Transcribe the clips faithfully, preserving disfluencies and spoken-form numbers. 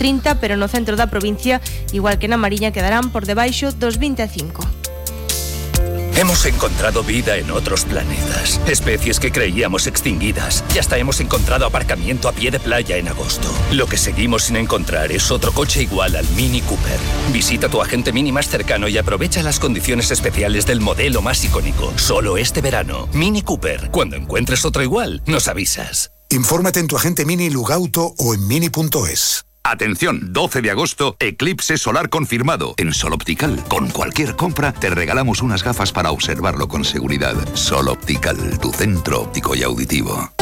trinta, pero no centro da provincia, igual que na Mariña, quedarán por debaixo dos vinte e cinco. Hemos encontrado vida en otros planetas, especies que creíamos extinguidas, y hasta hemos encontrado aparcamiento a pie de playa en agosto. Lo que seguimos sin encontrar es otro coche igual al Mini Cooper. Visita tu agente Mini más cercano y aprovecha las condiciones especiales del modelo más icónico. Solo este verano. Mini Cooper. Cuando encuentres otro igual, nos avisas. Infórmate en tu agente Mini Lugauto o en mini punto es. Atención, doce de agosto, eclipse solar confirmado. En Sol Optical, con cualquier compra, te regalamos unas gafas para observarlo con seguridad. Sol Optical, tu centro óptico y auditivo.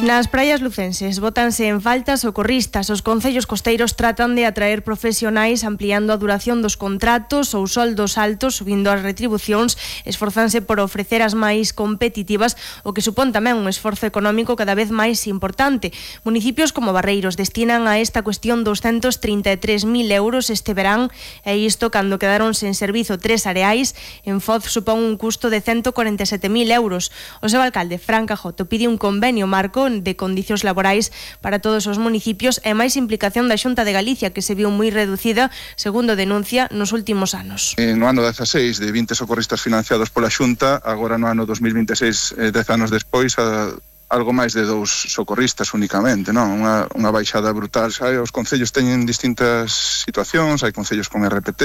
Nas praias lucenses bótanse en falta socorristas. Os concellos costeiros tratan de atraer profesionais ampliando a duración dos contratos ou soldos altos, subindo as retribucións, esforzanse por ofrecer as máis competitivas, o que supón tamén un esforzo económico cada vez máis importante. Municipios como Barreiros destinan a esta cuestión doscientos treinta e tres mil euros este verán, e isto cando quedaron sen servizo tres areais. En Foz supón un custo de ciento cuarenta e sete mil euros. O seu alcalde, Fran Cajoto, pide un convenio marco de condicións laborais para todos os municipios e máis implicación da Xunta de Galicia, que se viu moi reducida, segundo denuncia, nos últimos anos. No ano dezaseis, de vinte socorristas financiados pola Xunta, agora no ano dos mil vinte e seis, dez anos despois, a algo máis de dous socorristas únicamente, non? Unha, unha baixada brutal. Xa, os concellos teñen distintas situacións, hai concellos con R P T,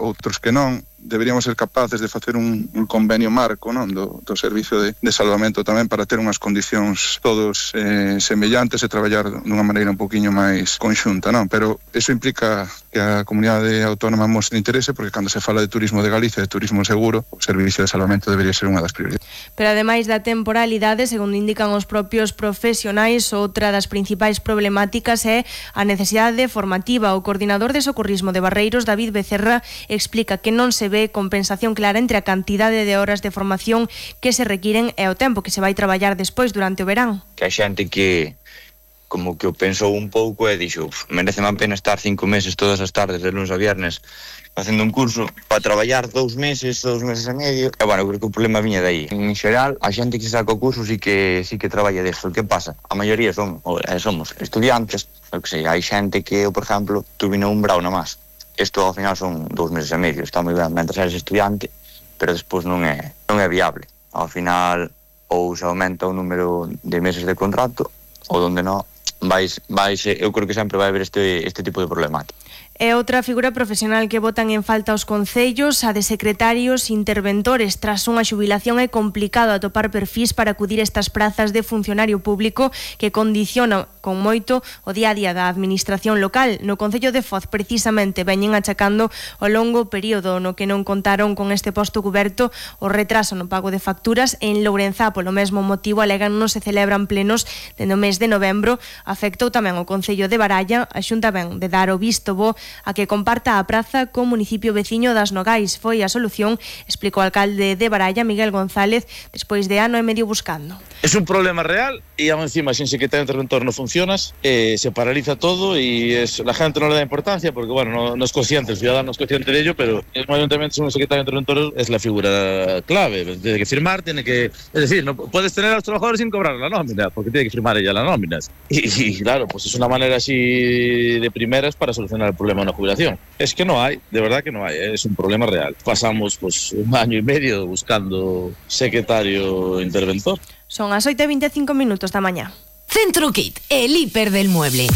outros que non. Deberíamos ser capaces de facer un, un convenio marco, non? Do, do servicio de, de salvamento tamén, para ter unhas condicións todos eh, semellantes e traballar dunha maneira un poquinho máis conxunta, non? Pero eso implica que a comunidade autónoma mostre interese, porque cando se fala de turismo de Galicia, de turismo seguro, o servicio de salvamento debería ser unha das prioridades. Pero ademais da temporalidade, segundo indican os propios profesionais, outra das principais problemáticas é a necesidade formativa. O coordinador de socorrismo de Barreiros, David Becerra, explica que non se ve compensación clara entre a cantidade de horas de formación que se requiren e o tempo que se vai traballar despois durante o verán. Que a xente que como que o pensou un pouco e dixo, merece a pena estar cinco meses todas as tardes de lunes a viernes facendo un curso para traballar dous meses, dous meses e medio. E bueno, creo que o problema viña de aí. En xeral, a xente que se saca o curso sí que sí que traballa desto. O que pasa? A maioría son, somos estudiantes, o que sei, hai xente que, por exemplo, tuvinou un brau na más. Isto ao final son dous meses e medio, está moi ben mentre eres estudiante, pero despois non é, non é viable. Ao final, ou se aumenta o número de meses de contrato, ou donde non, vais, vais, eu creo que sempre vai haber este, este tipo de problemática. E outra figura profesional que botan en falta os concellos, a de secretarios interventores. Tras unha xubilación é complicado atopar perfís para acudir a estas prazas de funcionario público que condiciona con moito o día a día da administración local. No Concello de Foz, precisamente, veñen achacando o longo período no que non contaron con este posto cuberto, o retraso no pago de facturas. En Lourenzá, polo mesmo motivo, alegan non se celebran plenos dende o mes de novembro. Afectou tamén o Concello de Baralla. A Xunta ven de dar o visto bo a que comparta a praza co municipio veciño das Nogais. Foi a solución, explicou o alcalde de Baralla, Miguel González, despois de ano e medio buscando. Es un problema real y aún encima sin secretario interventor no funcionas, eh, se paraliza todo y es, la gente no le da importancia porque bueno, no, no es consciente, el ciudadano no es consciente de ello, pero en un ayuntamiento sin un secretario interventor es la figura clave, tiene que firmar, tiene que, es decir, no puedes tener a los trabajadores sin cobrar la nómina, porque tiene que firmar ella la nómina. Y, y claro, pues es una manera así de primeras para solucionar el problema de una jubilación. Es que no hay, de verdad que no hay, ¿eh? Es un problema real. Pasamos pues un año y medio buscando secretario interventor. Son as oito e veinticinco minutos da mañá. Centro Kit, el hiper del mueble.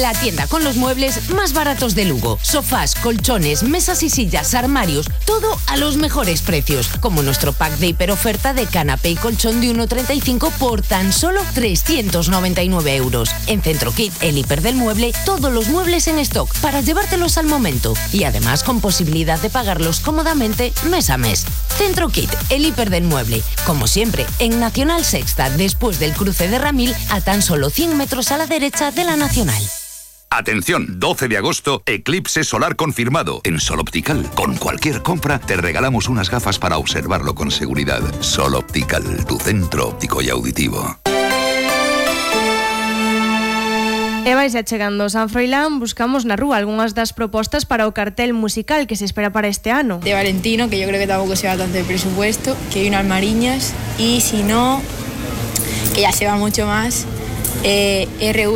La tienda con los muebles más baratos de Lugo. Sofás, colchones, mesas y sillas, armarios, todo a los mejores precios. Como nuestro pack de hiper oferta de canapé y colchón de uno treinta y cinco por tan solo trescientos noventa y nueve euros. En Centro Kit, el hiper del mueble, todos los muebles en stock para llevártelos al momento. Y además con posibilidad de pagarlos cómodamente mes a mes. Centro Kit, el hiper del mueble. Como siempre, en Nacional Sexta, después del cruce de Ramil, a tan solo cien metros a la derecha de la Nacional. Atención, doce de agosto, eclipse solar confirmado. En Sol Optical, con cualquier compra, te regalamos unas gafas para observarlo con seguridad. Sol Optical, tu centro óptico y auditivo. E vais achegando San Froilán, buscamos na rúa algunhas das propostas para o cartel musical que se espera para este ano. De Valentino, que yo creo que tampoco se va tanto de presupuesto, que hay unas Mariñas, y si no, que ya se va mucho más, eh, R U